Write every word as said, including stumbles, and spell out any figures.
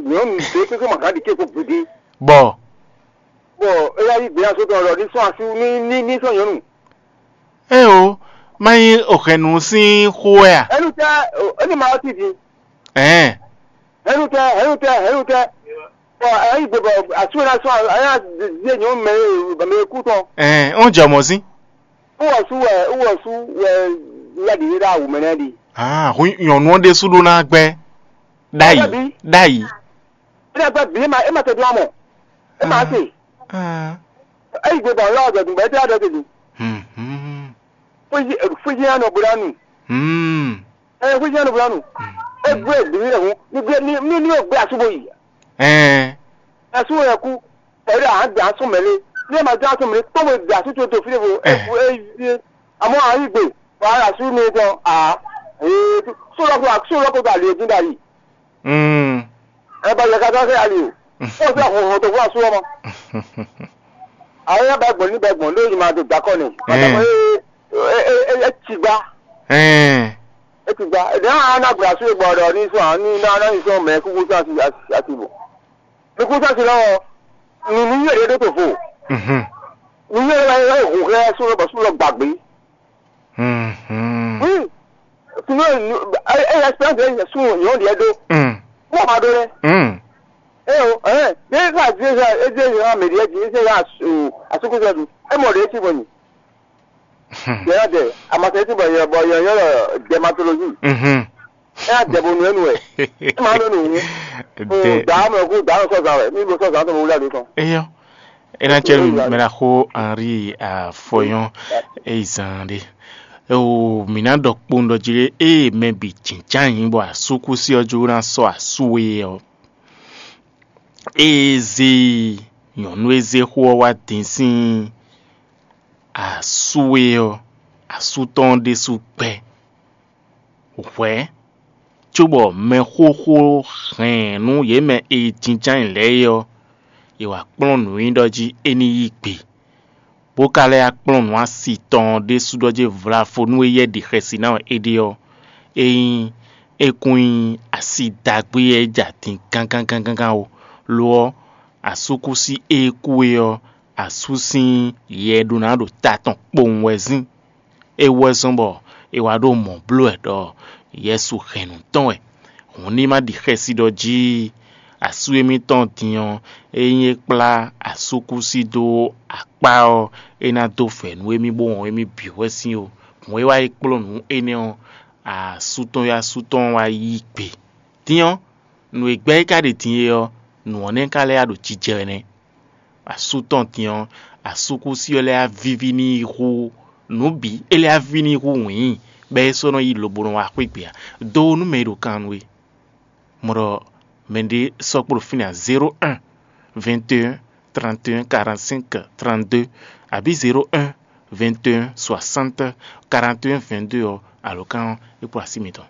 Nyɔ̌nu ɖě kpékpé ma gǎn ɖi kéko gbeɖé. Bɔ bɔ é yá yí gběyàsó tɔn ɖɔ ní sɔ́ asú ní ní ní sɔ́ nyɔ̌nu. Ée o, má nyí òhɛ̌nnu sín xó wɛ a? Ɛnu tɛ, ɛnu ma ɔ́ ti din. Ɛ̌n. Ɛnu tɛ, ɛnu tɛ, ɛnu tɛ. Bɔ é yí gbe bɔ asú ná sɔ́ ayá zé nyɔ̌nu mɛ e mɛ e kú tɔn. Ɛ̌n, ó jɛ mɔ̌ sín. Wúwɔsú wɛ wúwɔsú wɛ yá ɖi ɖá awu mɛ nɛ́ ɖi. Ah, hu nyɔ̌nu ɔ́ ɖésú ɖó ná gbɛ́. Ɖ'ayǐ, Ɔ́ bɛ́ bǐ. Ɖ'ayǐ. Énɛ́ gbɛ́ bǐ é ma é ma tɛ dó amɔ. É ma se. Ah. Eyi gbe bɔ lɔ dɔ dùn bɛ tɛ adɔ tɛ dùn. Hmm, hmm, Fújì fújì yẹn nɔ bó ná nù. Hmm. Ɛ fújì yẹn nɔ bó ná nù. Egbe bǐ ní hun ní gbé ní ní ní gbé asúbò yìí. Ɛn. Asúbò yẹn kú. Ɛyí ɖe àwọn gbé asún mɛlé. Ní ẹ ma dé asún mɛlé kpɔ́n bó gbé asún tó tó fí ɖé fo. Ɛ. Ɛ ɛ àmọ́ àwọn yìí gbé wàá asún mi tán à. Ee sólọ́kọ̀ sólọ́kọ̀ tó àlè dín dà yìí. Mm. Ẹ bá yẹ ká sá sẹ́ ali o. Ó sẹ́ hòhò tó fún asú ọmọ. Àwọn yẹn bá gbọ̀n ní bá gbọ̀n lóyún máa tó gbà kọ́ ni. Màtàmọ́ ẹ ẹ ẹ ẹ tì gbá. Ẹ tì gbá. Ẹ dẹ́n àwọn anágbèrè asú ìgbà ọ̀dọ̀ ní sọ àwọn ní iná ní sọ mẹ́ kúkú sọ àti àti bò. Ní kúkú sọ àti lọ́wọ́. Nùnú yóò dé tó fò. Nùnú yóò dé tó fò. Hòhò ẹ sún lọ bọ̀ sún lọ gbàgbé. Wi, tunu ɛ ɛ experience ɛ sun nyɔ̌ ɖiɛ ɖó. Wọ́n máa ɖó lɛ. Ɛ o ɛ ní ká dé ká é dé ká mɛ ɖiɛ jí é dé ká asukúsɛ ɖu. Ɛ mɔ ɖiɛ tí bɔ nyi. Yɛ yɔ dɛ amasɛ tí bɔ yɔ bɔ yɔ yɔ dermatologie. Ɛ yà dɛ bo nu ɛ nu ɛ. Ɛ máa ɖó nu wu. Dɛ. Dàá mɛ kú dàá mɛ sɔ̀zà wɛ mí bo sɔ̀zà tó mo wúlò àdó tán. Eyɔ. Ena cɛ mɛ la xo Henri afɔyɔn eyi zan ɖe. O mǐ ná ɖɔ kpowun ɖɔ jí ɖé eye mɛ bǐ jínján nyǐ bɔ asúkúsi ɔ́ jó ná sɔ́ asú we ɔ́. Eye zé nyɔ̌nu e zé xó ɔ́ wá din sín asú we ɔ́, asú tɔn ɔ́ ɖésú gbɛ́. Hwɛ̌, cóbɔ mɛxóxó hɛn nú yě mɛ e jínján lɛ́ɛ é ɔ́, è wǎ kplɔ́n nǔnyiɖɔ jí é ní yí gbe, bó ka lɛ́ yá kplɔ́n nǔ asi tɔn ɔ́ ɖésú ɖɔ jí vlavo nú éyɛ́ ɖi xɛsi ná wɛ é ɖe ɔ́, é nyí é kún nyí asi ɖagbe e jɛ atin gángán gángán ó; lo ɔ́, asúkúsi e kú é ɔ́, asú sín yɛ ɖó ná ɖo ta tɔn kpowun wɛ zín. É wú wɛ zɔ́n bɔ è wá ɖo mɔ̌ bló wɛ ɖɔ Yɛsu hɛn nǔ tɔn wɛ. Hǔn ní ma ɖi xɛsi ɖɔ jí asú émítɔn din ɔ́, ényí é kplá asúkúsi dó akpá ɔ́, é ná dó vɛ̌ nú émí bó wɔn émí bǐ wɛ sín ó. Hǔn é wá yi kplɔ́n nǔ énɛ́ ɔ́, asú tɔn e asú tɔn wá yí gbe. Din ɔ́, nǔ e gbɛ́ é ka ɖe din é ɔ́, nǔ ɔ́ nɛ́ ka lɛ́ wá ɖo jijɛ wɛ nɛ́. Asú tɔn din ɔ́, asúkúsi ɔ́ lɛ́ wá víví n'i hú nǔ bǐ; é lɛ́ wá víví n'i hú wǐin, bɔ é sɔ́ nɔ yi lobo nɔ wá xwé gbe ǎ. Do nú mɛ e ɖo kan nú we. Mɔ ɖɔ mɛɖé sɔ́ kpo ɖo fínɛ́ ǎ: zéro un, vingt et un, trente et un, quarante-cinq, trente-deux, abǐ zéro un, vingt et un, soixante, quarante et un, vingt-deux ɔ́, alǒkan ɔ́, é kpo así mitɔn.